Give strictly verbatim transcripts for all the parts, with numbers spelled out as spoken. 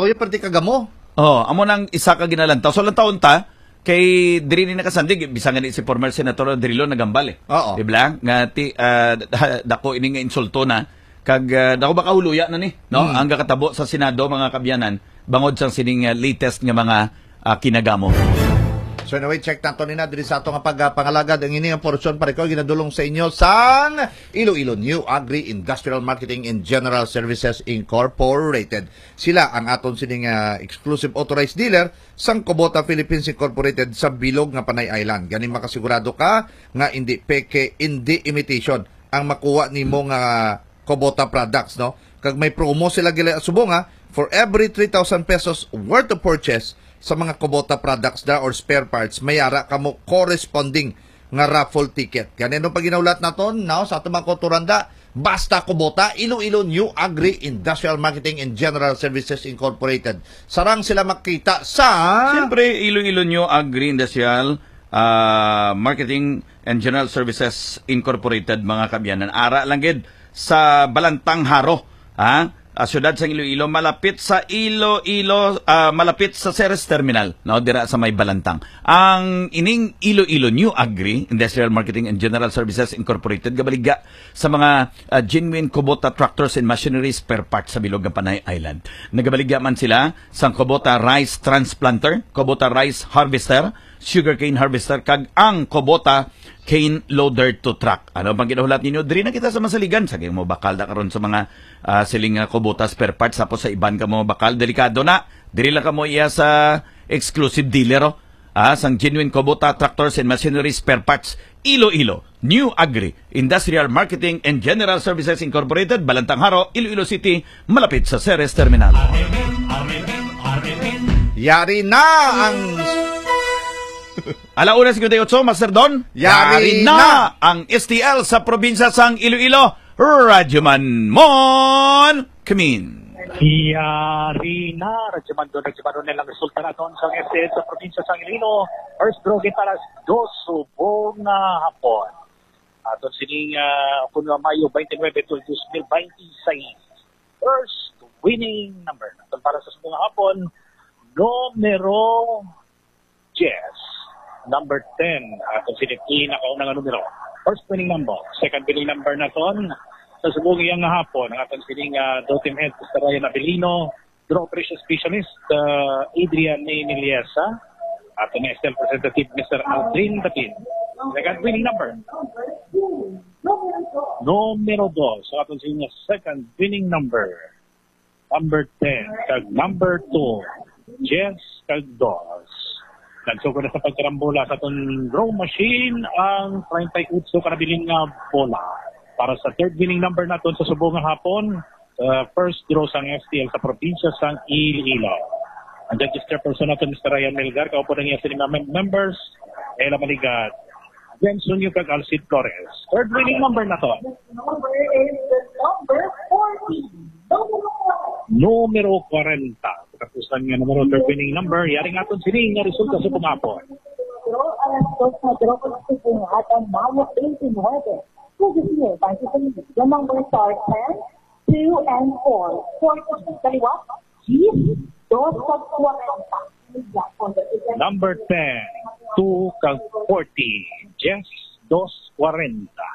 Toyo, perti kagamo. Oh, amo nang isa ka ginalantaw. So, lantawon ta, kay diri ni nakasandig, bisan gani si former Senator Drilon nagambal eh. Oo. Di ba? Nga ti, ah, da-, dako ini nga insulto na. Kag, ah, dako ba kahuluya na ni, no? Hmm. Ang gakatabo sa Senado, mga kabyanan, bangod sang sining, ah, latest nga mga, ah, kinagamo. So anyway, check nato ni na diri sa ato nga pagpangalagad. Ang ini nga portion, pare ko, ginadulong sa inyo sang Iloilo New Agri Industrial Marketing and General Services Incorporated. Sila ang aton sining, ah, exclusive authorized dealer sang Kubota Philippines Incorporated sa bilog nga Panay Island. Gani makasigurado ka nga indi peke, indi imitation ang makuha nimo nga Kubota products, no? Kag may promo sila gali subong, ha? For every three thousand pesos worth of purchase sa mga Kubota products na or spare parts, may ara kamo corresponding nga raffle ticket. Gani, ano pa ginahulat naton, no? Sa aton mga kulturanda, basta Kubota, Iloilo New Agri Industrial Marketing and General Services Incorporated. Sarang sila makita sa Siyempre, Iloilo New Agri Industrial, ah, Marketing and General Services Incorporated, mga kabyanan. Ara lang gid sa Balantang Jaro, ha? Ah, siyudad sang Iloilo, malapit sa Iloilo, ah, malapit sa Ceres Terminal, no? Dira sa may Balantang. Ang ining Iloilo New Agri Industrial Marketing and General Services Incorporated gabaligya sa mga, ah, genuine Kubota tractors and machinery spare parts sa bilog nga Panay Island. Nagabaligya man sila sang Kubota rice transplanter, Kubota rice harvester, sugarcane harvester, kag ang Kubota cane loader to truck. Ano pang ginahulat ninyo? Diri na kita sa Masaligan. Sa mo bakal na karon sa mga, ah, siling nga Kubota spare parts, tapos sa iban ka mo bakal, delikado na. Diri lang ka mo iya sa exclusive dealer, oh. Ah, sang genuine Kubota tractors and machinery spare parts. Iloilo, New Agri Industrial Marketing and General Services Incorporated, Balantang Jaro, Iloilo City, malapit sa Ceres Terminal. Yari na ang Alauna singkwenta y ocho, Master Don. Yari Yari na. na ang S T L sa probinsya sang Iloilo. Radyoman Mon Kamin. Yari na, Radyoman Don, Radyoman Ronel, ang resulta naton sang S T L sa probinsya sang Iloilo. First draw kita alas dos subong nga hapon. Aton sining, ah, kung nga Mayo twenty-nine, dos mil veintiséis. First winning number naton para sa subong nga hapon, numero diyes, number ten. Aton sining pinakauna nga numero. First winning number. Second winning number naton sa subong nga hapon, ang aton sining, ah, Dotem Head, Mister Ryan Abilino, Draw Operation Specialist, ah, Adrian Ninilyesa, aton S T L Representative, Mister Aldrin Datin. Second winning number. Numero dos, ang aton sining second winning number. Number ten, kag number two, diyes kag dos. Nagsugod na sa pagkarambola sa aton draw machine ang treinta y ocho ka nabilin nga bola. Para sa third winning number naton sa subong nga hapon, uh, first draw sang S T L sa probinsya sang Iloilo. Ang judges chairperson naton, Mister Ryan Melgar, kaupo na niya sini mga mem-, members, Ella Manigat, James Unyo kag Alcid Flores. Third winning number naton. Number is the number forty. Numero kwarenta. Katapusan nga numero, third winning number. Yari nga aton sini nga resulta sa pumapon. Draw alas dos na draw sa Pungatan, Mayo twenty-nine. Pwede siya, basta sa inyo. The number star ten, two and four. Forty. Kaliwa, G, dos kag kwarenta. Number ten, two kag forty. Jess, dos kwarenta.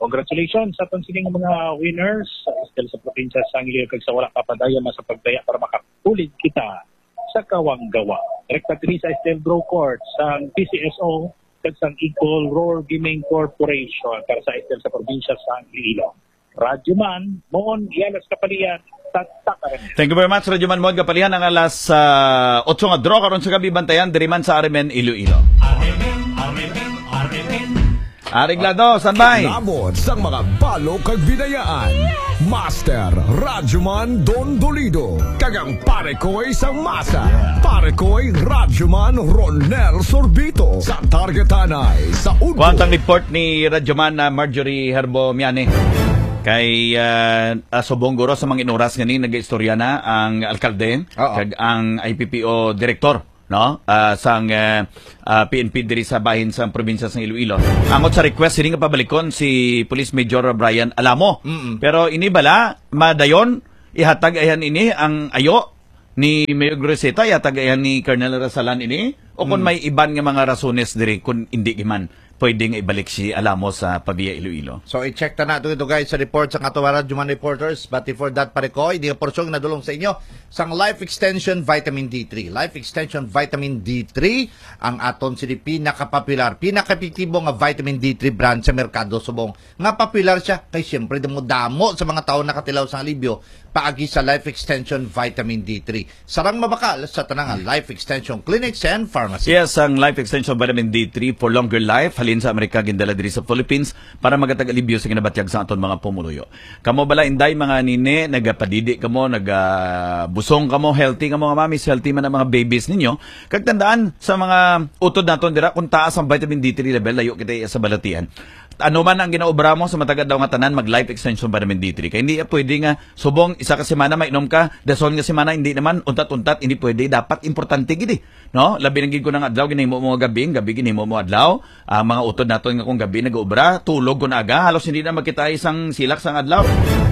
Congratulations sa aton sining mga winners sa Estel sa probinsya sang Iloilo kag sa wala pa padayon na sa pagdaya para makakulig kita sa Kawanggawa. Direkta diri sa Estel Draw Court sang P C S O kag sang Igcol Roar Gaming Corporation para sa Estel sa probinsya sang Iloilo. Radyo Man, Mon Yalas Kapalian, Tatak Araneta. Thank you very much, Radyo Man Mon Kapalian. Ang alas, ah, otso nga draw karon sa gabi, bantayan diri man sa R M N Iloilo. Areglado, standby. Labot sang mga balo kag binayaan. Master Radyoman Don Dolido, kag ang Pare Koy sang Masa, Pare Koy Radyoman Ronel Sorbito, sa Target Tanay, sa Udto. Kuwantang report ni Radyoman na Marjorie Herbo Miani. Kay, ah, ah, subong guro sa mga inuras nga ni nag-istorya na ang alkalde Oo. kag ang I P P O direktor, no? Ah, sang, eh, ah, P N P diri sa bahin sang probinsya sang Iloilo. Angot sa request sini nga pabalikon si Police Major Brian Alamo. Mm-mm. Pero ini bala, madayon, ihatag ayan ini ang ayo ni Mayor Guriceta, yatag ayan ni Colonel Rasalan ini? O kung Hmm. may iban nga mga rasones diri, kung hindi man pwede nga ibalik si Alamo sa Pavia Iloilo? So, i-check ta na to ito, guys, sa report sa ato, Radyo Man Reporters. But before that, pare ko, hindi nga porsyon nadulong sa inyo sang Life Extension Vitamin D three. Life Extension Vitamin D three, ang aton sini pinakapopular, pinakaepektibo nga vitamin D three brand sa merkado subong nga popular siya kay siyempre damo-damo sa mga tawo nakatilaw sang alibyo paagi sa Life Extension Vitamin D three. Sarang mabakal sa tanang Life Extension Clinics and Pharmacy. Yes, ang Life Extension Vitamin D three for longer life, halin sa Amerika, gindala diri sa Philippines para magatag alibyo sa ginabatyag sa aton mga pumuluyo. Kamo bala, inday, mga nini, nagapadidi kamo, nagabusong kamo, healthy kamo, nga mamis, healthy man ang mga babies ninyo. Kag tandaan, sa mga utod naton dira, kung taas ang vitamin D three level, layo kita sa balatian. Ano man ang ginaobra mo sa matag adlaw nga tanan, mag Life Extension Vitamin D three. Kay hindi pwede nga subong isa ka semana mainom ka, dason nga semana hindi naman, untat-untat, hindi pwede. Dapat importante gid eh. No? Labi na gid kung ang adlaw ginahimo mo gabi, ang gabi ginahimo mo adlaw. Ang mga utod naton nga kung gabi nag-obra, tulog kung aga, halos hindi na makita isang silak sang adlaw.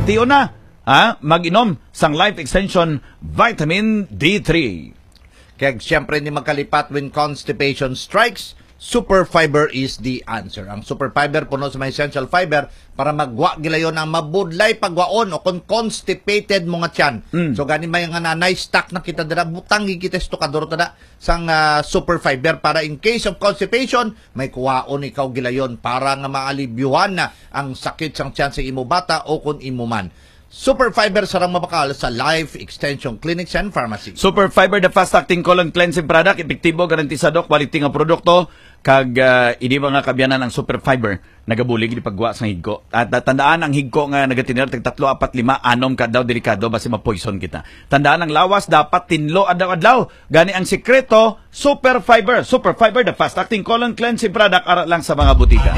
Tiyo na, ha? Mag-inom sang Life Extension Vitamin D three. Kag siyempre, hindi magkalipat when constipation strikes, Super Fiber is the answer. Ang Super Fiber puno sa mga essential fiber para magwa gilayon ang mabudlay pagwaon o kung constipated mo nga tiyan. Mm. So, gani may nga nanay, stuck na kita dira, butang kita sa tukador ta na sang, ah, Super Fiber para in case of constipation, may kuwaon ikaw gilayon para nga maalibyuhan na ang sakit sang tiyan sa imo bata o kung imo man. Super Fiber, sarang mabakal sa Life Extension Clinics and Pharmacy. Super Fiber, the fast-acting colon cleansing product, epektibo, garantisado, quality nga produkto, kag, ah, ini mga kabyanan ang Super Fiber, nagabulig di pagwa sa higko. At, ah, tandaan ang higko nga nagatinir tag tatlo, apat, lima, anom ka daw, delikado basi ma-poison kita. Tandaan ang lawas dapat tinlo adlaw-adlaw. Gani ang sikreto, Super Fiber. Super Fiber, the fast-acting colon cleansing product, ara lang sa mga butika.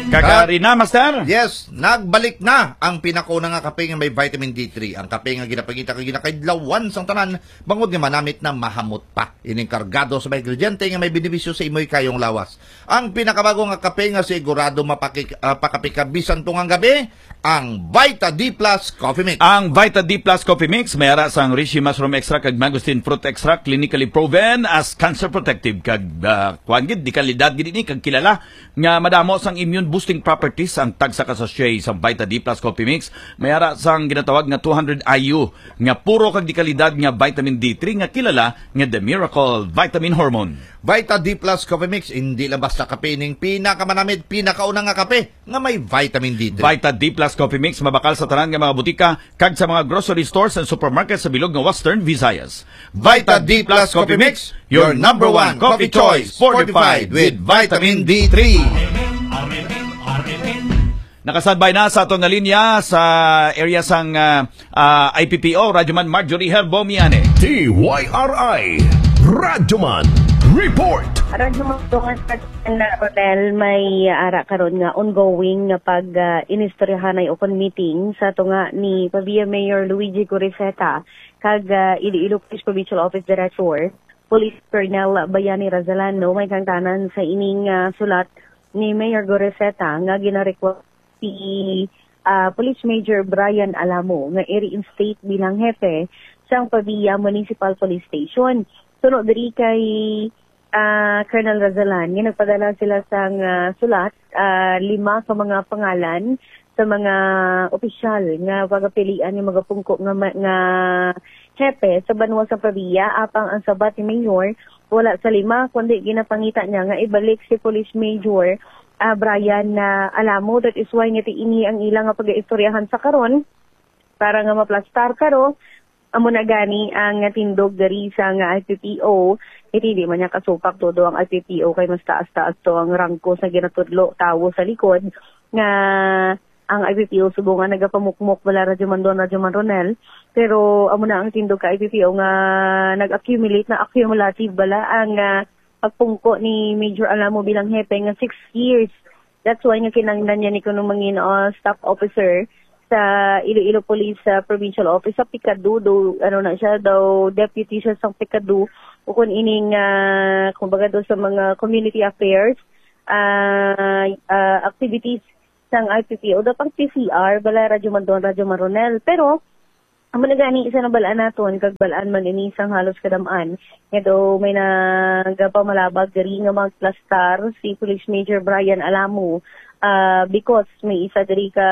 Kagari na, Master. Yes, nagbalik na ang pinakauna nga kape nga may vitamin D three. Ang kape nga ginapangita kag ginakaidlawan sang tanan, bangod nga manamit na mahamot pa. Ining kargado sa mga ingrediente nga may benepisyo sa imoy kayong lawas. Ang pinakabago nga kape nga sigurado mapaki-, ah, pakapika bisan tungang gabi, ang Vita D plus Coffee Mix. Ang Vita D plus Coffee Mix may ara sang reishi mushroom extract kag mangosteen fruit extract, clinically proven as cancer protective kag, ah, kuwan gid, di kalidad gid ini kag kilala nga madamo sang immune boosting properties ang tagsa ka sachet sa Vita D plus Coffee Mix. May ara sang ginatawag nga two hundred I U nga puro kag di kalidad nga vitamin D three nga kilala nga The Miracle Vitamin Hormone. Vita D plus Coffee Mix, hindi lang basta kape, ining pinakamanamit, pinakauna nga kape nga may vitamin D three. Vita D plus Coffee Mix mabakal sa tanan nga mga butika kag sa mga grocery stores and supermarket sa bilog nga Western Visayas. Vita D plus Coffee Mix, your number one coffee choice, fortified with vitamin D three. Nakasabay na sa aton nga linya sa area sang, ah, ah, I P P O, Radyoman Marjorie Herbo Miane. D Y R I, Radyoman Report. Radyoman, tungas na, Rodel, may ara karon nga ongoing nga pag, ah, inistoryahanay o kon meeting sa tunga ni Pavia Mayor Luigi Guriceta kag, ah, Iloilo Police Provincial Office Director, Police Colonel Bayani Razalano. May kangtanan sa ining, ah, sulat ni Mayor Guriceta nga ginarequest si, ah, Police Major Brian Alamo nga i-reinstate bilang hepe sang Pavia Municipal Police Station. Suno diri kay, ah, Colonel Razalan, nga nagpadala sila sang, ah, sulat, ah, lima ka mga pangalan sa mga opisyal nga pagapilian nga magapungko nga ma-, nga hepe sa banwa sa Pavia, apang ang sabat ni Mayor, wala sa lima, kundi ginapangita niya nga ibalik si Police Major, ah, Brian, ah, Alamo. That is why nga ti-, ini ang ila nga pag-iistoryahan sa karon para nga maplastar karo. Amo na gani ang tindog diri sa nga I P P O. Iti di man niya kasupak todo ang I P P O kay mas taas-taas to ang rangko sa ginatudlo tawo sa likod nga ang I P P O subong nga nagapamukmok bala, Radyo Mandon, Radyo Man Ronel. Pero amo na ang tindog ka I P P O nga nag-accumulate, na accumulative bala ang, ah, pagpungko ni Major Alamo bilang hepe nga six years. That's why nga kinahanglan niya ni kuno mangin, ah, staff officer sa Iloilo Police, ah, Provincial Office sa PICADU, do, ano na siya, daw deputy siya sa PICADU, o kung ining, ah, kumbaga do sa mga community affairs, ah, ah, activities sang I P P O, daw pang P C R, bala, Radyo Mandon, Radyo Man Ronel. Pero, Amo na gani sa nabal-an naton, kag bal-an man ini sang halos kadam-an, nga daw may nagapamalabag diri nga magplastar si Police Major Brian Alamo, ah, because may isa diri ka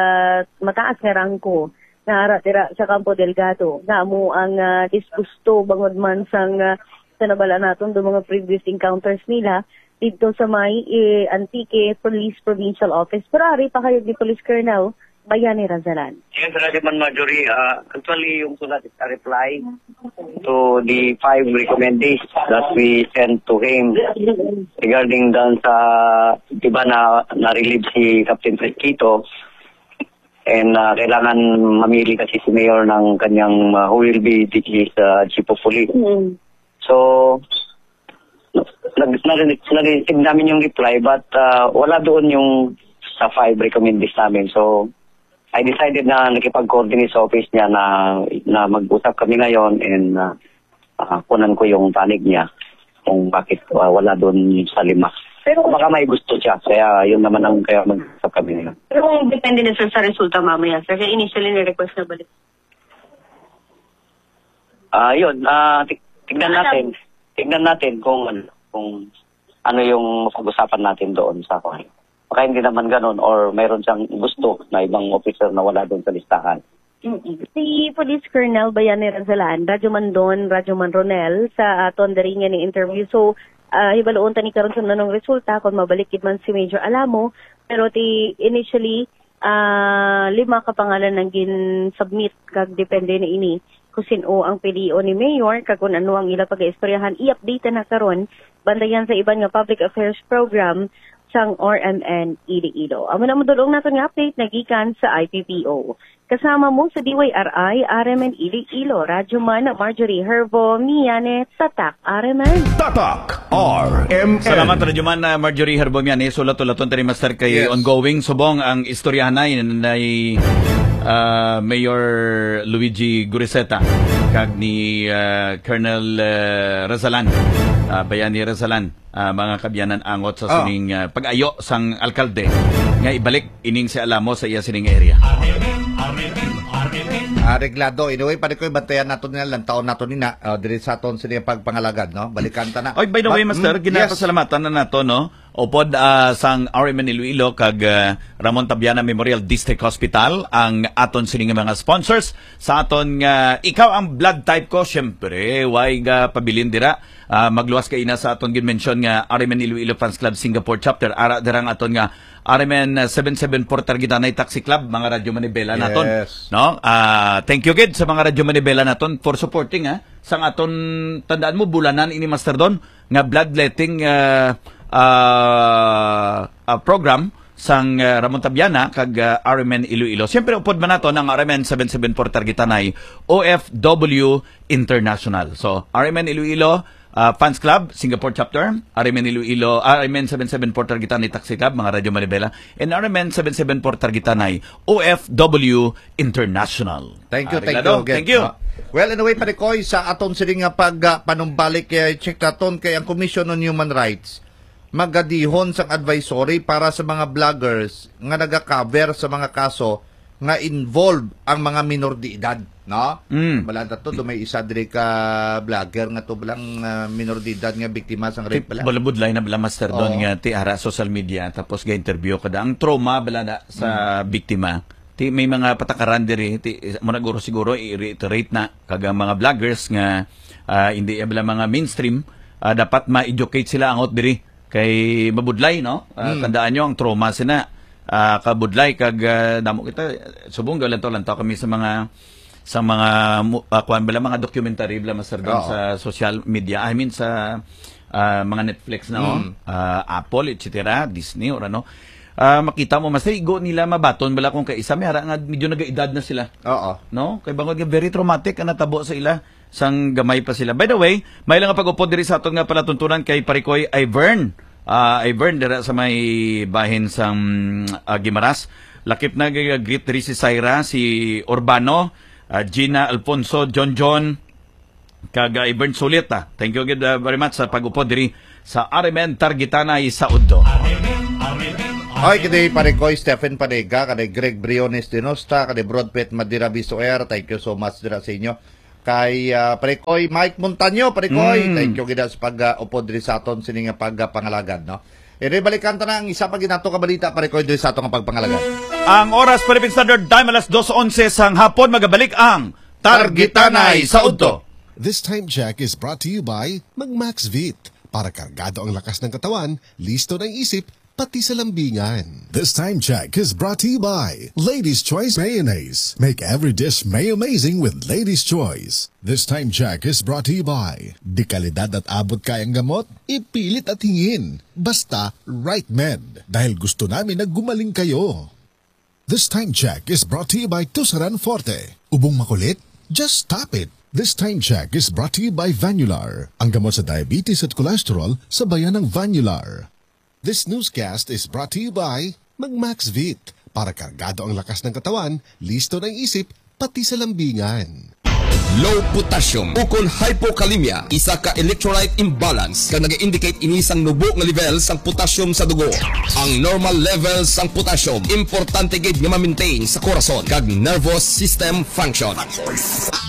mataas nga rangko nga ara dira sa Campo Delgado, nga amo ang, ah, disgusto bangod man sang, ah, sa nabal-an naton do mga previous encounters nila didto sa may, eh, Antique Police Provincial Office. Pero ari pa kayo ni Police Colonel Bayani Razalan. Yes, Radyo Man Marjorie. Ah, actually, yung sulat is a reply to the five recommendees that we sent to him regarding dun sa, di ba, na na-relieve si Captain Fred Quito, and, ah, kailangan mamili kasi si Mayor ng kanyang, ah, who will be the, his, ah, chief of police. Mm. So, nag, nag, nag-receive namin yung reply, but, ah, wala doon yung sa five recommendees namin. So, I decided na nakipag-coordinate sa office niya na, na mag-usap kami ngayon, and, ah, ah, kunan ko yung panig niya kung bakit, ah, wala doon sa lima. Pero baka may gusto siya, kaya yun naman ang kaya mag-usap kami ngayon. Pero kung depende na, sir, sa resulta mamaya, sir, kaya initially ni-request na balik. Ah, yun, ah, ti-, tignan natin. Tignan natin kung ano, kung ano yung pag-usapan natin doon sa kwan. Baka hindi naman ganun or mayroon siyang gusto na ibang officer na wala doon sa listahan. Mm-mm. Si Police Colonel Bayani Razalan, Radyo Man Don, Radyo Man Ronel, sa aton diri nga ni interview. So, ah, hibaloon ta ni karon kung anong resulta, kung mabalik gid man si Major Alamo, pero ti initially, ah, lima ka pangalan ang gin-submit, kag depende na ini kung sin-o ang pilion ni Mayor kag kung ano ang ila pag-iistoryahan. I-update na karon, bantayan sa iban nga public affairs program sang R M N Iloilo. Amo na madulong naton nga update nagikan sa I P P O. Kasama mo sa D Y R I, R M N Iloilo, Radyo Man Marjorie Herbo Miane, Tatak R M N. Tatak R M N. Salamat, Radyo Man, ah, Marjorie Herbo Miane. Sulat-ulaton tani, Master, kay Yes. ongoing subong ang istoryahanay ni, ah, Mayor Luigi Guriseta kag ni, ah, Colonel, ah, Razalan, ah, Bayani Razalan, ah, mga kabyanan, angot sa Ah. sining, ah, pag-ayo sang alkalde nga ibalik ining si Alamo sa iya sining area. Areglado. Anyway, pare ko, bantayan nato nila, lantaon nato nina, ah, diri sa aton sini pagpangalagad, no? Balikan ta na. Oy, by the way, But, Master, mm, yes. ginapasalamatan na nato, no? Upod, ah, sang R M N Iloilo kag, ah, Ramon Tabiana Memorial District Hospital ang aton sini nga mga sponsors sa aton nga, ikaw ang blood type ko, syempre, way ga pabilin dira. Ah, magluwas ka ina sa aton gin-mention nga R M N Iloilo Fans Club Singapore Chapter. Ara dira ang aton nga R M N seven seven four Targitanay Taxi Club, mga Radyo Manibela naton. Yes. No? Ah, thank you gid sa mga Radyo Manibela naton for supporting, ha. Sang aton, tandaan mo, bulanan ini, Master Don, nga bloodletting, ah, ah, ah, program sang, ah, Ramon Tabiana kag, ah, R M N Iloilo. Siyempre, upod man naton ang R M N seven seven four Targitanay, O F W International. So, R M N Iloilo, ah, Fans Club, Singapore Chapter, R M N Iloilo, R M N seven seven four Targitanay Taxi Club, mga Radyo Manibela, and R M N seven seven four Targitanay, O F W International. Thank you, Ah, thank reglado. you again. Thank you. Ah, well, anyway, pare Koy, sa aton sini nga pag, ah, panumbalik, eh, check naton kay ang Commission on Human Rights magadihon sang advisory para sa mga vloggers nga naga-cover sa mga kaso nga involved ang mga minor de edad, no? Mm. Wala na to, do may isa diri ka vlogger nga to, bilang, ah, minor de edad nga biktima sang rape Ti-, bala. Balabudlay na bala, Master Don, Oo. nga ti ara social media, tapos ga-interview ka da. Ang trauma bala na sa Mm. biktima. Ti may mga patakaran diri, ti, mo na guro siguro i-reiterate na, kag ang mga vloggers nga, ah, hindi bala mga mainstream, ah, dapat ma-educate sila angot diri. Kay mabudlay, no? Ah, Mm. tandaan nyo, ang trauma sina, ah, kabudlay, kag, ah, damo kita, subong gaw lantaw-lantaw kami sa mga, sa mga mu-, ah, kuwan bala, mga documentary bala, Master Don, Oo. sa social media, I mean, sa, ah, mga Netflix na, oh. Mm. Ah, Apple, et cetera, Disney, or ano. Ah, makita mo, Master, igo nila mabaton bala kung kaisa, may ara nga medyo nagaedad na sila. Oo. No? Kay bangod nga very traumatic ang natabo sa ila sang gamay pa sila. By the way, may lang nga pag-upod diri sa aton nga palatuntunan kay Parikoy Ivern. Ah, Ivern, dira sa may bahin sang, ah, Guimaras. Lakip na, g-, greet diri si Syra, si Urbano, ah, Gina, Alfonso, John John, kag, ah, Ivern Sulit, ah. Thank you gid, ah, very much sa pag-upod diri sa R M N Targitanay sa Udto. Ay, kini Pare Koy Stephen Panega, kani Greg Briones Denosta, kani Broadpet Madira Bisoer, thank you so much dira sa inyo. Kay ah, Pare Koy Mike Montaño, Pare Koy, Mm. thank you gid sa pag-upod diri sa aton sini nga pagpangalagan, no? Iri balikan ta na ang isa pa ginato ka balita, Pare Koy, diri sa aton nga pagpangalagan. Ang oras, Philippine Standard Time, alas dos onse sang hapon, magabalik ang Targitanay sa Udto. This time check is brought to you by Magmax Vit. Para kargado ang lakas ng katawan, listo na ang isip, pati sa lambingan. This time check is brought to you by Ladies Choice Mayonnaise. Make every dish may amazing with Ladies Choice. This time check is brought to you by, de kalidad at abot kayang gamot, ipilit at hingin. Basta, right med. Dahil gusto namin na gumaling kayo. This time check is brought to you by Tusaran Forte. Ubong makulit? Just stop it. This time check is brought to you by Vanular, ang gamot sa diabetes at cholesterol sa bayan ng Vanular. This newscast is brought to you by Magmax Vit. Para kargado ang lakas ng katawan, listo na ang isip, pati sa lambingan. Low potassium ukon hypokalemia, isa ka electrolyte imbalance kag nag-indicate ini sang nubo nga level sang potassium sa dugo. Ang normal level sang potassium importante gid nga ma-maintain sa korason kag nervous system function.